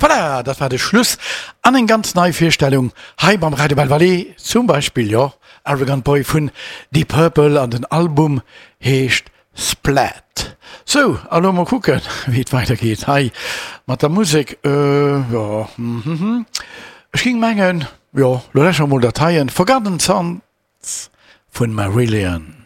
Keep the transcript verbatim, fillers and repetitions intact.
Voilà, dat war de Schluss an eng ganz nei Virstellung hei beim Radio Belval, zum Beispill, jo, Arrogant Boy vun Deep Purple an den Album heescht Splat. Sou, a lo mol kucken, wéi et weidergeet hei mat der Musek. Jo, hm, ech géing mengen, jo, lo läsche mer mol dat heien, Forgotten Sons vun Marillion.